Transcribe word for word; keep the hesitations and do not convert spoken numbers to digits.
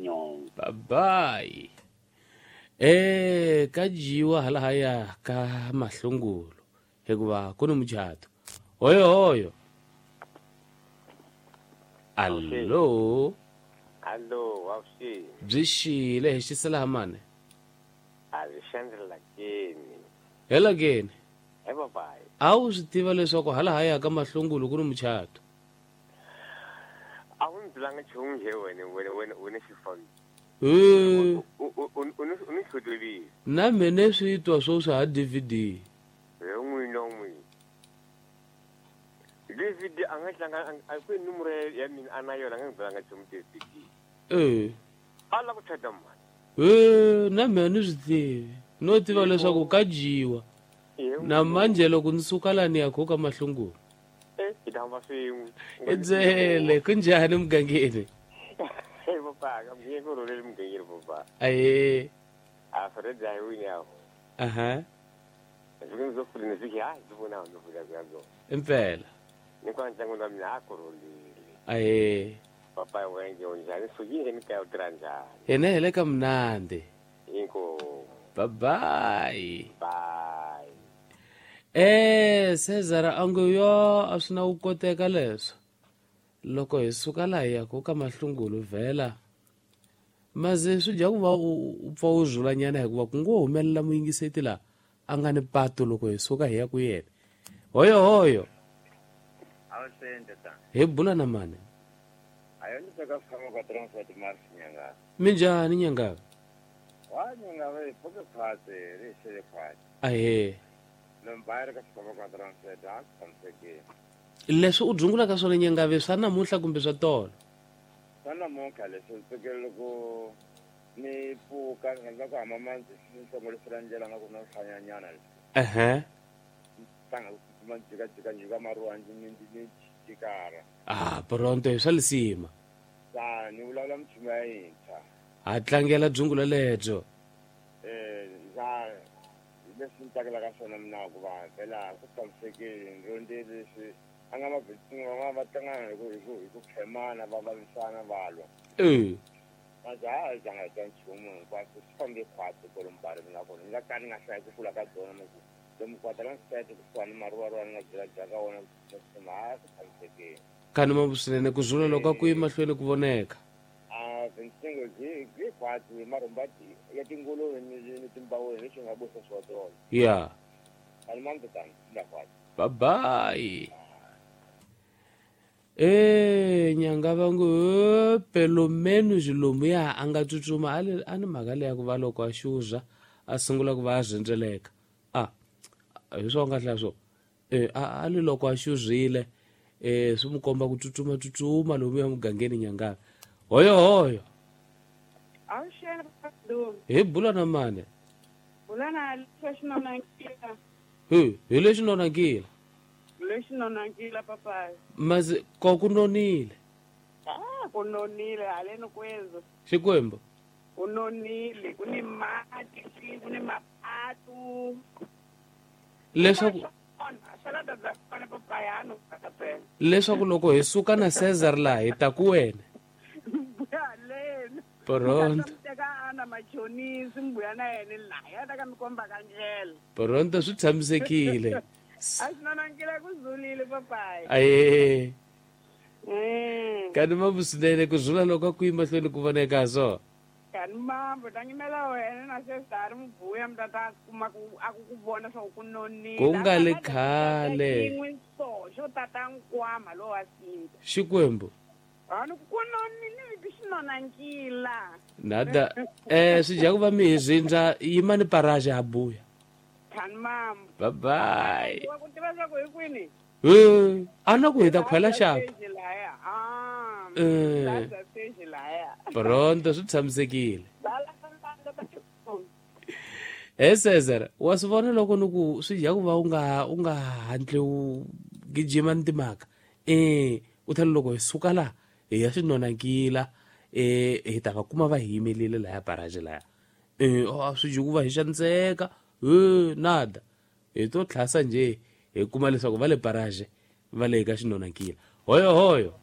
nyo. Bye bye. Eh ka dyiwa halahaya ka mahlungulo hikuva ku ni muchato. Hoyo hoyo. Allo. Allo, wawuxi. Byi xile hi xisela mane. A byi xandlela kini. Hela kini. He babayi. A wu swi tiva leswaku halahaya ka mahlungulo ku ni muchato. A wu ndzi byelanga nchumu nje wena wena wena wena xifambi. Eh. U u u u ni hlutulile. Na mina swi twa swo swa ha D V D. He n'wina n'wina. D V D a nga tlanga a ku nomoro ya mina a na yona a nga ndzi byelanga nchumu D V D. Eh. A la ku chata mani. Eh, na mina ni swi tivi. No tiva leswaku ka dyiwa. Na manje loko ni suka la ni ya ka mahlungulo. Eh, hi ta hamba swin'we. Edzele, kunjhani mugangeni? Hey papa, ka mugangeni ku rhulile mugangeni papa. Aye. A Fred a hi wini yaho. Aha. Ndzi ndzo fuli ni fiki ha ndzi vona ndzi vula ku yazo. Impela. Ni kwa ntlangu na mina a ku rhulile. Aye. Papa wenge unjhani sukile ni kaya u tirha njhani? Hina hi le ka mnandi. Inkomu. Bye bye. Bye. Eh, Cesar a ngo yo a swi na ku koteka leswo. Loko hi suka laha hi yaka ka mahlungulo vhela. Maze swi dya ku va u pfa u zulanyana hikuva ku ngo humelela muyingiseti laha a nga ni pato loko hi suka hi ya ku yena. Hoyo hoyo. Hi bula na mani? Minjhani nyanga? Wa nyanga va hi pfuke khwatsi ri xele khwatsi. Ahee. Lombari ka xifambo ka transit a tshamisekile. Leswi u dzungulaka swona nyangave swa namuntlha kumbe swa tolo? Swa namuntlha leswi ndzi tsakela loko ni pfuka ni rhandza ku hamba mandzi ni hlongorisela ndlela nga ku na hlanyanyana leswi. Ehe. Tanga ku tsutsuma ni jikajika nyika maruwa ndzi ni ni jikara. Ah, pronto hi swa lisima. Ta ni vulavula minchumu ya yintshwa. Ha tlangela dzungulo lebyo. Eh, ndza leswi ni tsakelaka swona mina ku va vhela ku tshamisekile ndzi leswi a nga mavhetsini van'wana va tlangana hi ku hi ku hi ku khemana va vavisana va lwa. Eh. Manje a hi zanga hi twa nchumu hinkwaswo swi fambe khwatsi kwalomu mina kona ni nga ka ni nga hlayi ku kula ka byona mi ku lomu kwata nsete kusuhani maruvaruva ni nga byela ka wona tsutsuma a swi tshamisekile. Kani mambu swinene ku zula loko ku yi mahlweni ku voneka. A vintsingo byi byi khwatsi marhumba ya tinguluve ni ni timbaweni leswi nga busa swa tona. Yeah. Kani mambu tani la khwatsi. Bye bye. Eh, nyanga va ngo pelo menos lomuya a nga tsutsuma a le a ni mhaka leya ku va loko a xuza a sungula ku va a rhendzeleka. Ah, hi swo nga hlaya swo. Eh, a a le loko a xuzile eh swi mu komba ku tsutsuma tsutsuma lomuya mugangeni nyanga. Hoyo hoyo. Awuxela du. Hi bula na mani? Bula na lexi nonakila. Hi, hi lexi nonakila. Lexi nonakila papayi. Mazi ko ku nonile. Ah, ku nonile haleni kwezo. Xikwembu. Ku nonile, ku ni mati, ku ni mapatu. Leswaku leswaku loko hi suka na Cesar laha hi ta ku wena. Pronto. Pronto swi tshamisekile. Aye. Kani mambu swinene ku zula loko ku yi mahlweni ku voneka so. Kani mambu tangimela wena na Cesar mbuya mtata kuma ku a ku vona swa ku nonile. Ku nga le khale. So xo tata nkwama lo wa sinta. Xikwembu. Ani ku nonile xinonankila. Nada eh swi dya ku va mi hi zindza yimani paraje ha buya. Kani mambu. Bye bye. Wa ku tiva swa ku hi kwini? Eh, a na ku hi ta khwela xapa. Ah. Eh. Pronto swi tshamisekile. Eh Cesar, wa swi vona loko ni ku swi dya ku va u nga u nga hatli u gijima ni timhaka. Eh, u tlhela loko hi suka laha hi ya xinonankila eh hi ta va kuma va hi yimelile laya paraje laya. Eh, a swi dya ku va hi xaniseka. Eh, nada. Hi to tlhasa nje hi kuma leswaku va le paraje va le ka xinonankila. Hoyo hoyo.